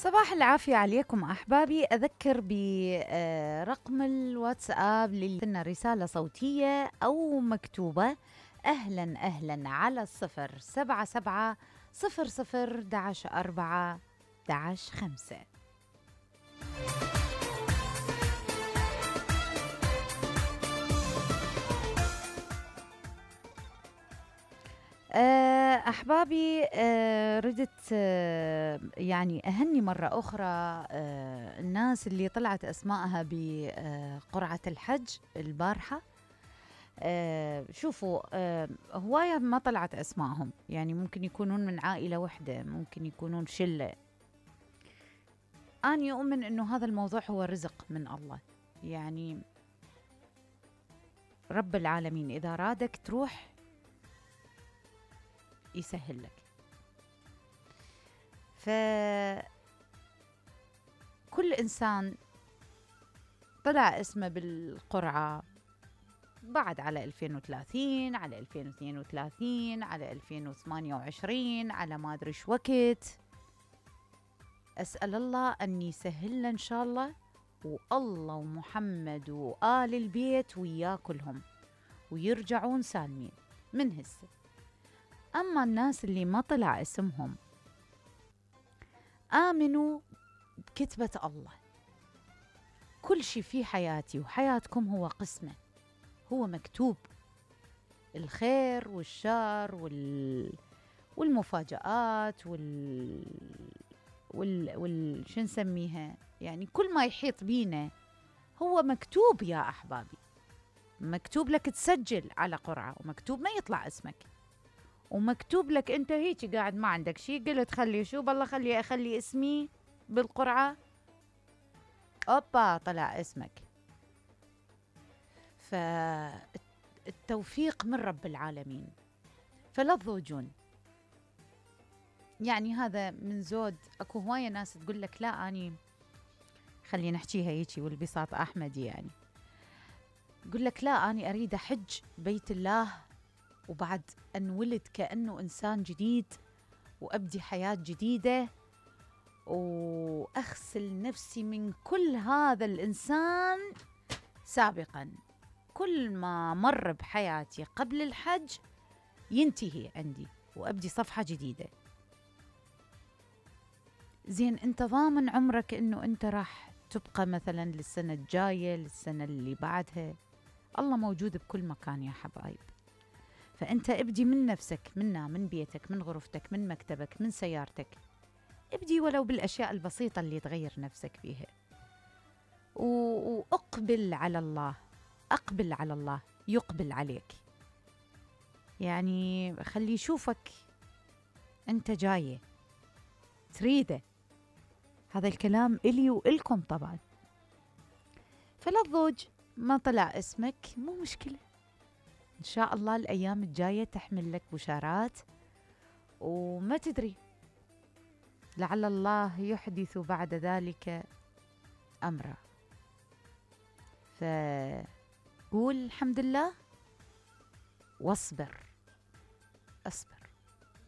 صباح العافية عليكم أحبابي. أذكر برقم الواتساب لنا رسالة صوتية أو مكتوبة. أهلا أهلا على 077 00 11 4 11 5. أحبابي، ردت يعني أهني مرة أخرى الناس اللي طلعت أسماءها بقرعة الحج البارحة. شوفوا، هواية ما طلعت أسماءهم، يعني ممكن يكونون من عائلة واحدة، ممكن يكونون شلة. أنا أؤمن أنه هذا الموضوع هو رزق من الله، يعني رب العالمين إذا رادك تروح يسهل لك. فكل إنسان طلع اسمه بالقرعة بعد على 2030، على 2032، على 2028، على ما أدري شو وقت. أسأل الله أن يسهل إن شاء الله، والله ومحمد وآل البيت ويا كلهم ويرجعون سالمين من هسه. أما الناس اللي ما طلع اسمهم، آمنوا بكتبة الله. كل شيء في حياتي وحياتكم هو قسمة، هو مكتوب. الخير والشر والمفاجآت شو نسميها، يعني كل ما يحيط بينا هو مكتوب يا أحبابي. مكتوب لك تسجل على قرعة، ومكتوب ما يطلع اسمك، ومكتوب لك انت هيك قاعد ما عندك شيء، قلت خلي شو بالله خلي اسمي بالقرعة، اوبا طلع اسمك. فالتوفيق من رب العالمين، فلا تضوجون. يعني هذا من زود. اكو هواية ناس تقول لك لا اني، خلي نحكيها هيك والبساط احمدي، يعني يقول لك لا اني اريد احج بيت الله وبعد انولد كأنه انسان جديد، وابدي حياة جديدة، واغسل نفسي من كل هذا الانسان سابقا. كل ما مر بحياتي قبل الحج ينتهي عندي، وابدي صفحة جديدة. زين، انت ضامن عمرك انه انت راح تبقى مثلا للسنة الجاية، للسنة اللي بعدها؟ الله موجود بكل مكان يا حبايب. فأنت ابدي من نفسك، من بيتك، من غرفتك، من مكتبك، من سيارتك. ابدي ولو بالأشياء البسيطة اللي تغير نفسك فيها، وأقبل على الله. أقبل على الله يقبل عليك، يعني خلي يشوفك أنت جاية تريده. هذا الكلام إلي وإلكم طبعا. فلا تضوج، ما طلع اسمك مو مشكلة، إن شاء الله الأيام الجاية تحمل لك بشارات، وما تدري لعل الله يحدث بعد ذلك أمرا. فقول الحمد لله واصبر. أصبر.